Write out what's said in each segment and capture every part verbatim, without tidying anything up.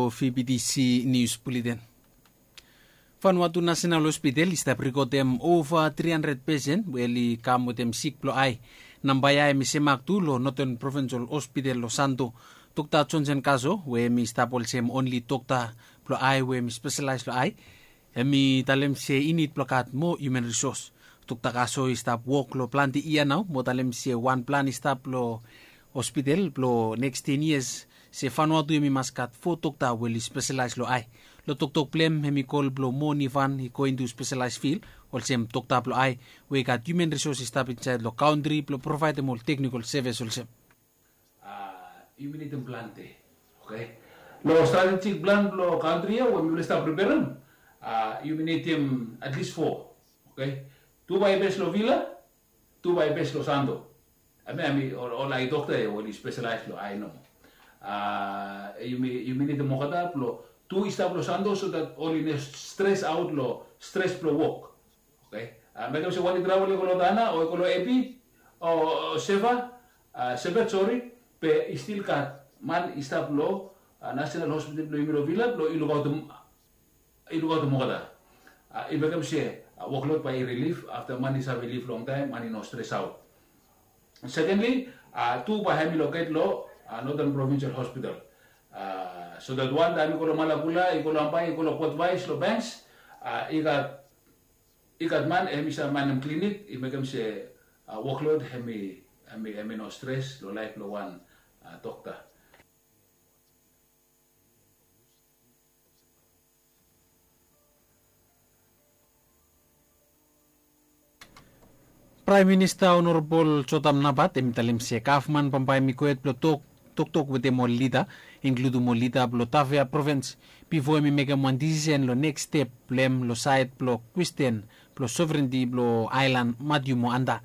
Vptc Nius Buleten. Vanuatu National Hospital i stap rikotem ova tri handred pesen we oli kam wetem sik blong ae. Namba ya hemi semak tu long Northern Provincial Hospital long Santo. Dokta Johnson Kaso we hemi stap olsem onli dokta blong ae we hemi speselaes long ae, hemi talem se i nid blong gat moa hiuman risos. Dokta Kaso i stap wok long plante yia nao mo talem se wan plan i stap long hospital blong neks ten yias se Vanuatu hemi mas gat fo dokta we oli speselaes long ae. Long toktok blong hem hemi kol blong moa nivan i go intu speselaes fil olsem dokta blong ae we i gat hiuman risos i stap insaed long kantri blong provaedem ol teknikol sevis olsem. Yumi nidim plante. Oke. Long stratejik plan blong kantri ya we mifala i stap preperem, yumi nidim at least fo. Oke. Tu bae bes long Vila, tu bae bes long Santo. Hemia hemi ol ae dokta ya we oli speselaes long ae nomo. Yumi nidim olgeta blong tu i stap long Santo so dat oli no stres aot long stres blong wok. Oke. Mekem se wan i travel i go long Tana o i go long Epi o Seva, Sepet, sori, be i stil gat man i stap long National Hospital blong yumi long Vila blong i lukaotem olgeta. I mekem se woklod bae i rilif afta man i save lif longtaem, man i no stres aot. Sekendli, tu bae hemi loket long Northern Provincial Hospital, so dat wan taem i go long Malakula, i go long Ambae, i go long Port Vaes, long Banks, i gat i gat man hemi save manem klinik, i mekem se woklod hemi no stres long laef blong wan dokta. Praem Minista Honorabol Jotam Napat hemi talem se gavman bambae hemi gohed blong toktok wetem ol lida, inkludem ol lida blong Tafea provins, bifo hemi mekem wan disisen long neks step blong hem long saed blong kwestin blong soverenti blong aelan Matiu mo Anda.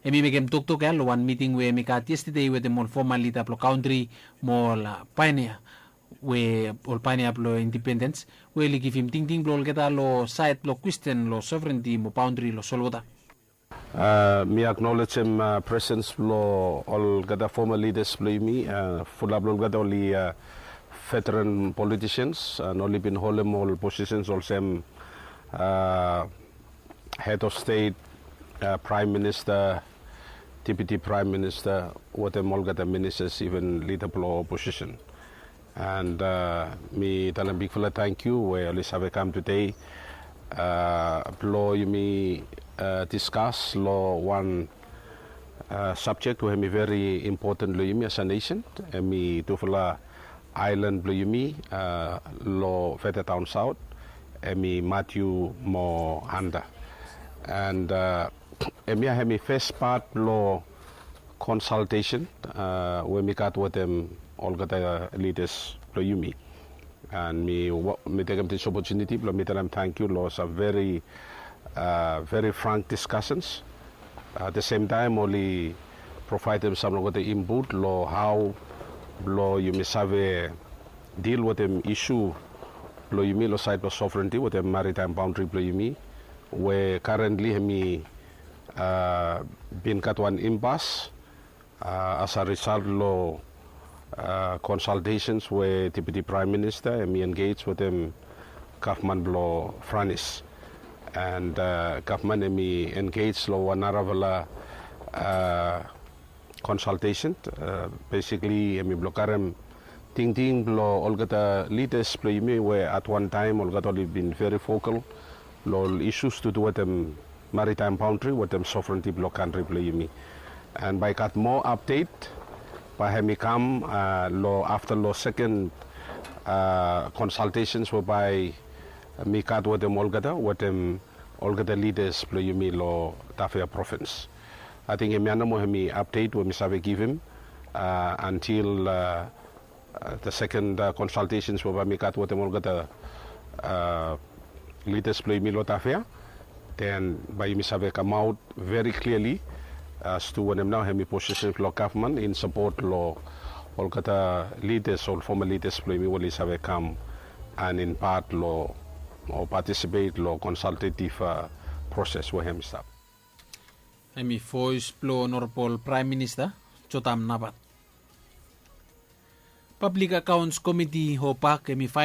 Hemi mekem toktok ya long wan miting we hemi gat yestede wetem ol foma lida blong kantri mo ol paenea we ol paenea blong indipendens we oli givim tingting blong olgeta long saed blong kwestin long soverenti mo baontri long solwota. Mi aknolejem presens blong olgeta foma lidas blong yumi. Fulap blong olgeta oli veteran politisians an oli bin holem ol posisens olsem hed of stet, praem minista, deputi praem minista, wetem olgeta ministas, iven lida blong oposisen. And mi talem bigfala tangkiu we oli save kam tede blong yumi diskas long wan sabjek we hemi veri impoten long yumi as a nesen. Hemi tufala aelan blong yumi long feta daon saot, hemi Matiu mo Anda. And hemia hemi fes pat blong konsaltesen we mi gat wetem olgeta lidas blong yumi. And mi tekem dis opotuniti blong mi talem tangkiu long sam veri veri frank diskasens. At the same taem oli provaedem sam long olgeta input long hao blong yumi save dil wetem isu blong yumi long saed blong sovereignty wetem maritaem baontri blong yumi, we karentli hemi bin gat wan impas as a risalt long konsaltesens we deputi praem minista hemi engej wetem gavman blong Franis. And gavman hemi engej long wan narafala konsaltesen. Besikli hemi blong karem tingting blong olgeta lidas blong yumi we at wan taem olgeta oli bin veri vokal long ol isus tu tu wetem maritaem baontri wetem sovereignty blong kantri blong yumi. And bae i gat moa apdet bae hemi kam long afta long seken konsaltesens we bae mi gat wetem olgeta wetem olgeta lidas blong yumi long Tafea provins. Ating hemia nomo hemi apdet we mi save givim antil the second konsaltesens we bae mi gat wetem olgeta lidas blong yumi long Tafea. Den bae yumi save kamaot veri kliali as tu wanem nao hemi posisen blong gavman in sapot long olgeta lidas, ol foma lidas blong yumi we oli save kam an in pat long o patisipet long konsaltetiv proses we hemi stap. Hemi voes blong Honorabol Praem Minista Jotam Napat. Pablik Akaons Komiti o pak hemi